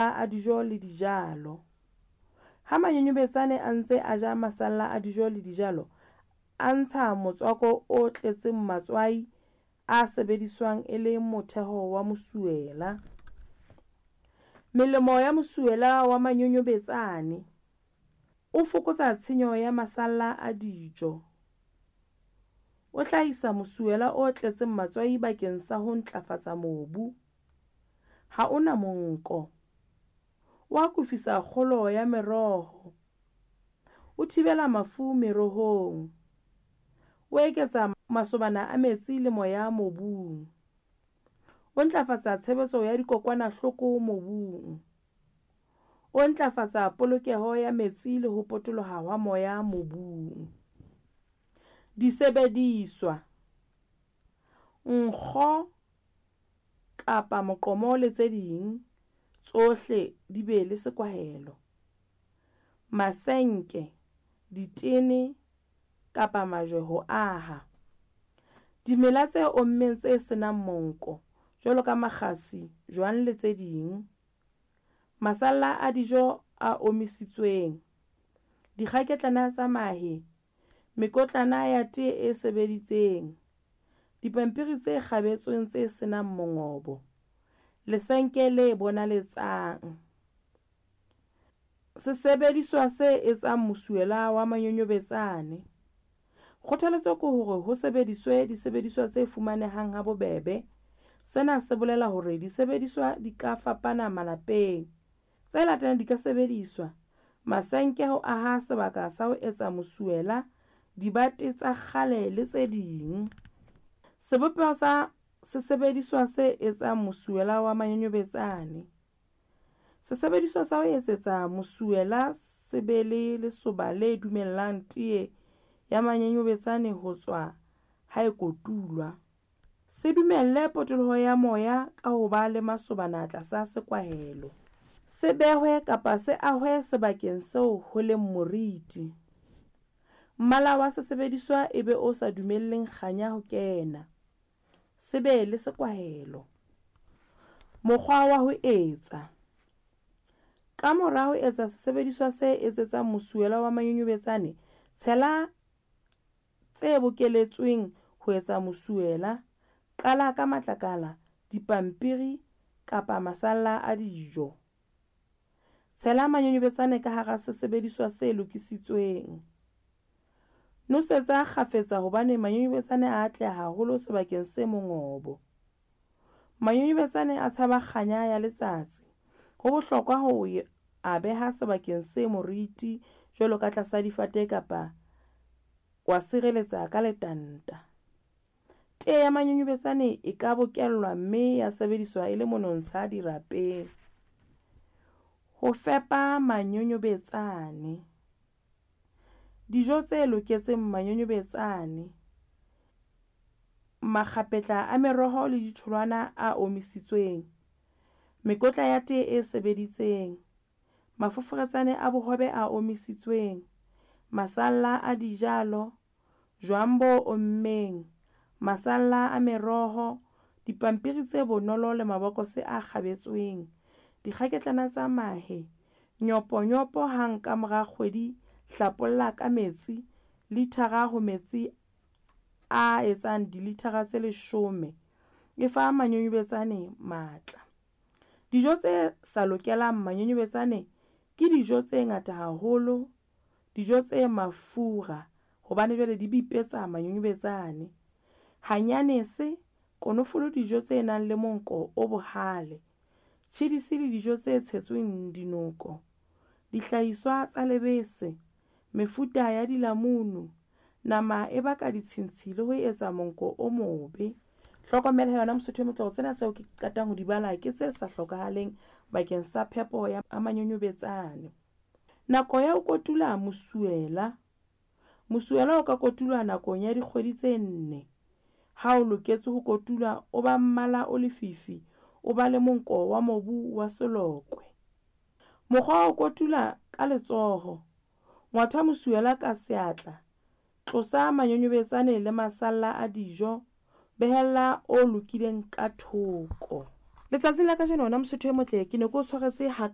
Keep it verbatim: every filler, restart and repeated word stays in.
A dijo le dijalo. Ha manyonyobetsane a ntse a ja masalla a dijo le dijalo, a ntsha motswako o tletseng matswai a sebediswang e le motheho wa mosuwela. Melemo ya mosuwela wa manyonyobetsane. O fokotsa tshenyo ya masalla a dijo. O hlahisa mosuwela o tletseng matswai bakeng sa ho ntlafatsa mobu. Ha ona monko. O akofisa kgolo ya meroho. O thibela mafu merohong. O eketsa masobana a metsi le moya mobung. O ntlafatsa tshebetso ya dikokwanahloko mobung. O ntlafatsa polokeho ya metsi le ho potoloha hwa moya mobung. Disebediswa: Nkgo kapa moqomo le tse ding, tsohle di be le sekwahelo. Masenke, ditene kapa majwe ho aha. Dimela tse ommeng tse senang monko, jwalo ka makgasi, jwang le tse ding. Masalla a dijo a omisitsweng. Dikgaketlana tsa mahe, mekotlana ya tee e sebeditseng. Dipampiri tse kgabetsweng tse senang mongobo. Lesenke le bonaletsang. Sesebediswa se etsang mosuwela wa manyonyobetsane. Kgothaletso ke hore ho sebediswe disebediswa tse fumanehang ha bobebe. Sena se bolela hore disebediswa di ka fapana malapeng. Tse latelang di ka sebediswa: masenke ho aha sebaka sa ho etsa mosuwela, dibate tsa kgale le tse ding. Sebopeho sa sesebediswa se etsang mosuwela wa manyonyobetsane. Sesebediswa sa ho etsetsa mosuwela se be le lesoba le dumellang tee ya manyonyobetsane ho tswa ha e kotulwa. Se dumelle potoloho ya moya ka ho ba le masobana tlasa sekwahelo. Se behwe kapa se ahwe sebakeng seo ho leng moriti. Mmala wa sesebediswa e be o sa dumelleng kganya ho kena. Se be le sekwahelo. Mokgwa wa ho etsa. Ka mora ho etsa sesebediswa se etsetsang mosuwela wa manyonyobetsane, tshela tse bokeletsweng ho etsa mosuwela. Qala ka matlakala, dipampiri kapa masalla a dijo. Tshela manyonyobetsane ka hara sesebediswa se lokisitsweng. Nosetsa kgafetsa hobane manyonyobetsane a atleha haholo sebakeng se mongobo. Manyonyobetsane a tshaba kganya ya letsatsi. Ho bohlokwa ho a beha sebakeng se moriti jwalo ka tlasa difate kapa wa sireletsa ka letanta. Tee ya manyonyobetsane e ka bokellwa mme ya sebediswa e le monontsha dirapeng. Ho fepa manyonyobetsane. Dijo tse loketseng manyonyobetsane. Makgapetla a meroho le ditholwana a omisitsweng. Mekotla ya tee e sebeditseng. Mafoforetsane a bohobe a omisitsweng. Masalla a dijalo, jwang bo ommeng, masalla a meroho, dipampiri tse bonolo le mabokose a kgabetsweng, dikgaketlana tsa mahe, nyoponyopo hang ka mora kgwedi, hlapolla ka metsi, lithara ho metsi a etsang dilithara tse leshome, e fa manyonyobetsane matla. Dijo tse sa lokelang manyonyobetsane ke dijo tse ngata haholo, dijo tse mafura hobane jwale di bipetsa manyonyobetsane. Hanyanese, konofolo, dijo tse nang le monko o bohale, tjhidisi le dijo tse tshetsweng dinoko, dihlahiswa tsa lebese, mefuta ya dilamunu, nama e baka ditshintshi le ho etsa monko o mobe. Hlokomela yona Mosotho e motle hore tsena tseo ke qetang ho di bala ke tse sa hlokahaleng bakeng sa phepo ya manyonyobetsane. Nako ya ho kotula mosuwela. Mosuwela o ka kotulwa nakong ya dikgwedi tse nne. Ha o loketse ho kotulwa, o ba mmala o lefifi, o ba le monko wa mobu wa selokwe. Mokgwa wa ho kotula ka letsoho. Ngwatha mosuwela ka seatla. Tlosa manyonyobetsane le masalla a dijo. Behella o lokileng ka thoko. Letsatsing la kajeno wena Mosotho e motle, ke ne ke o tshwaretse ha